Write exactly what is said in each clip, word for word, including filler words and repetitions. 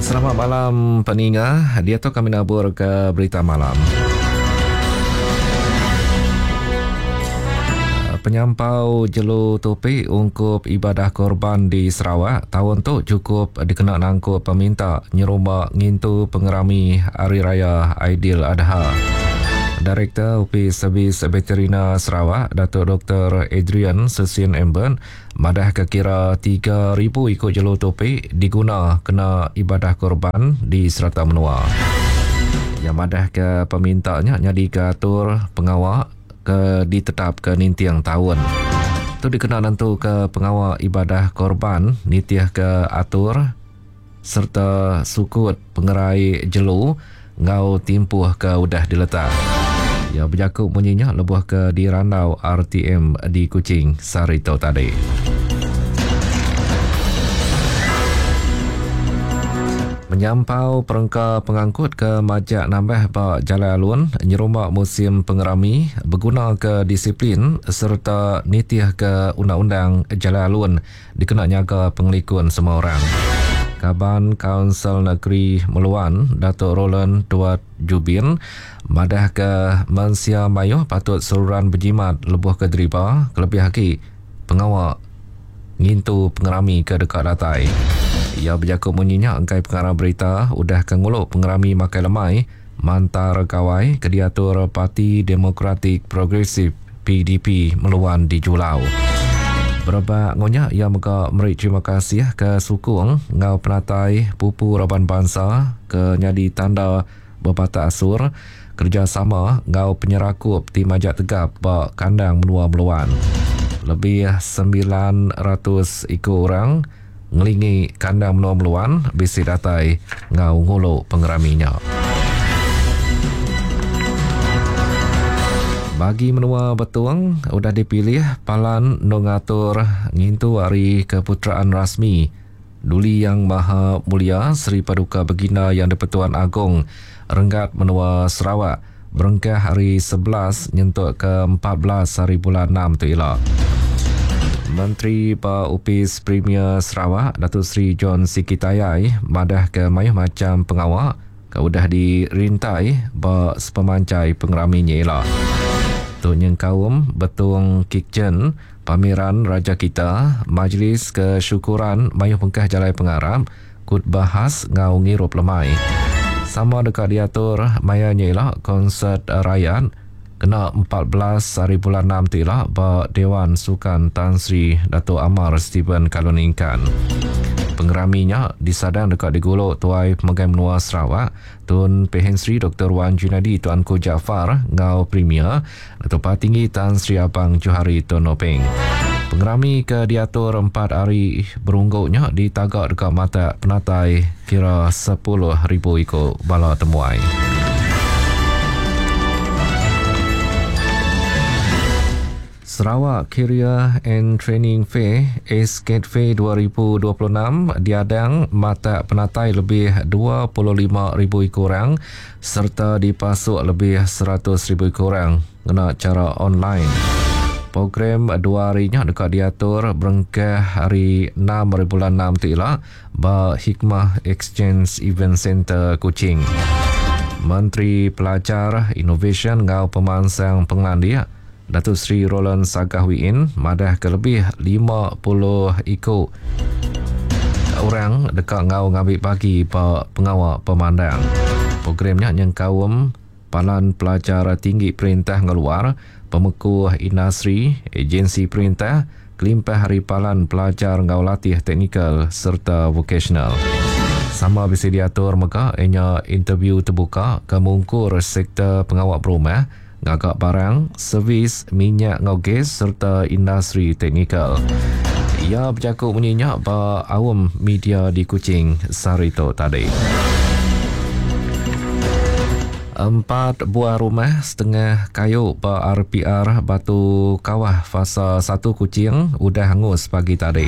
Selamat malam peninga. Dia tu kami nabur ke berita malam. Penyampau jelu topi ungkup ibadah korban di Sarawak tahun tu cukup dikena nangkup peminta nyerumba ngintu pengerami Hari Raya Aidil Adha. Direktur Opis Servis Veterina Sarawak, Datuk Doktor Adrian Susin Emben, madah ke kira tiga ribu ikut jelu topi diguna kena ibadah korban di serata menua. Yang madah ke pemintanya jadi ke atur pengawak ke ditetap ke nintiang tahun. Tu dikena nentu ke pengawak ibadah korban nitih ke atur serta sukut pengerai jelu ngau timpuh ke udah diletak. Ya berjakuk bunyinya lebuh ke dirandau R T M di Kuching sehari tu tadi. Menyampau perengka pengangkut ke majak nambah ba Jalan Alun nyerumak musim pengerami berguna ke disiplin serta nitih ke undang-undang Jalan Alun dikena nyaga pengelikun semua orang. Kaban Kaunsil Negeri Meluan Datuk Roland Tuat Jubin madah ke mensia mayuh patut seruran berjimat lebuh ke deriba kelebih lagi pengawak ngintu pengerami ke dekat datai. Ia berjakuk bunyinya engkai pengarang berita udah ke nguluk pengerami makai lemai mantar gawai ke diatur Parti Demokratik Progresif P D P Meluan di Julau. Berebak ngonyak ia mega meri terima kasih ke sukung ngau penatai pupu raban bangsa ke nyadi tanda berbatak asur kerjasama ngau penyerakup ti majak tegap ba kandang menua Meluan. Lebih sembilan ratus iku orang ngelingi kandang menua Meluan bisi datai ngau nguluk pengeraminya. Bagi menua Betung udah dipilih palan nungatur ngintu hari keputeraan rasmi Duli Yang Maha Mulia Seri Paduka Baginda Yang di-Pertuan Agong Renggat Menua Sarawak berengkah hari sebelas nyentuk ke empat belas hari bulan enam tu ila. Menteri Ba Upis Premier Sarawak Datuk Seri John Sikie Tayai madah ke mayuh macam pengawak ke udah dirintai ba sepemancai pengeraminya ila. Tu nyengkaum Betung Kitchen, Pameran Raja Kita, Majlis Kesyukuran Mayuh Pengkah Jalai Pengarap, Kut Bahas ngau ngirup lemai. Sama dekat diatur maya nya ila konsert rakyat kena empat belas hari bulan enam tu ila ba Dewan Sukan Tan Sri Datuk Amar Stephen Kalong Ningkan. Pengeraminya disadang dekat diguluk Tuai Pemegai Menua Sarawak Tun Pehin Sri Doktor Wan Junaidi Tuanku Jaafar ngau Premier Datuk Patinggi Tan Sri Abang Johari Tun Openg. Pengerami ke diatur empat hari berungguknya ditagak dekat mata penatai kira sepuluh ribu ikut bala temuai. Sarawak Career and Training Fair S K T Fair dua ribu dua puluh enam diadang mata penatai lebih dua puluh lima ribu orang serta dipasuk lebih seratus ribu orang ngena cara online. Program dua harinya dekat diatur berengkah hari enam hari bulan enam tu ila ba Hikmah Exchange Event Center Kuching. Menteri Pelajar, Inovasi ngau Pemansang Pengelandik Datuk Seri Roland Sagah Wee Inn madah ke lebih lima puluh ikut orang dekat ngau ngambil bagi pa pengawak pemandang. Programnya nyengkaum Palan Pelajar Tinggi Perintah Ngeluar, Pemekuh Industri, Agensi Perintah, Kelimpah Hari Palan Pelajar Ngau Latih Teknikal serta Vocational. Sama bisa diatur mega ianya interview terbuka ke mungkur sektor pengawak berumah, ngagak barang, servis, minyak ngau gas serta industri teknikal. Ia berjakuk bunyinya ba awam media di Kuching sehari tu tadi. Empat buah rumah setengah kayu ba R P R Batu Kawah Fasa satu Kuching udah hangus pagi tadi.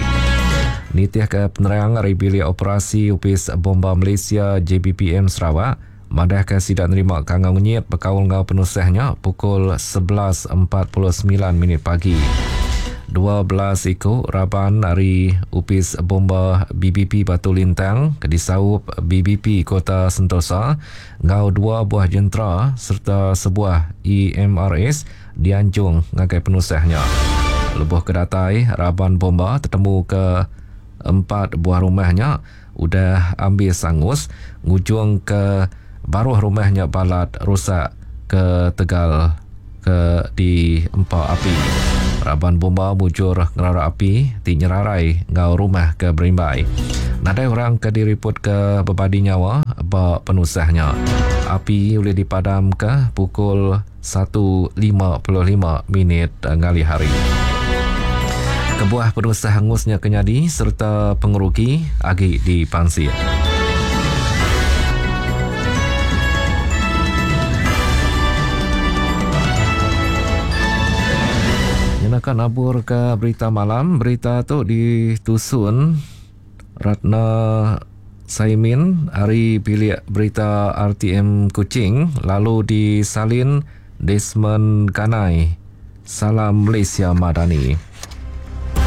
Nitih ke penerang dari Bilik Operasi Upis Bomba Malaysia J B P M Sarawak, madah ke sidak nerima kangau ngenyit berkaul ngau penusahnya pukul sebelas empat puluh sembilan minit pagi. dua belas iku raban ari Opis Bomba B B P Batu Lintang ke disaup B B P Kota Sentosa enggau dua buah jentera sereta sebuah E M R S dianjung ngagai penusah nya. Lebuh ke datai, raban bomba tetemu ke empat buah rumah nya udah ambis angus ngujung ke baruh rumah nya balat rusak ke tegal ke diempa api. Raban bomba mujur ngerara api ti nyerarai enggau rumah ke berimbai. Nadai orang ke diriput ke bebadi nyawa ba penusah nya. Api boleh dipadam ke pukul satu lima puluh lima minit ngalih hari. Kebuah penusah angusnya kenyadi serta pengerugi agi dipansik. Nyenakan abur ke berita malam. Berita tu ditusun Ratna Saimin hari bilik berita R T M Kuching lalu disalin Desmond Ganai. Salam Malaysia Madani.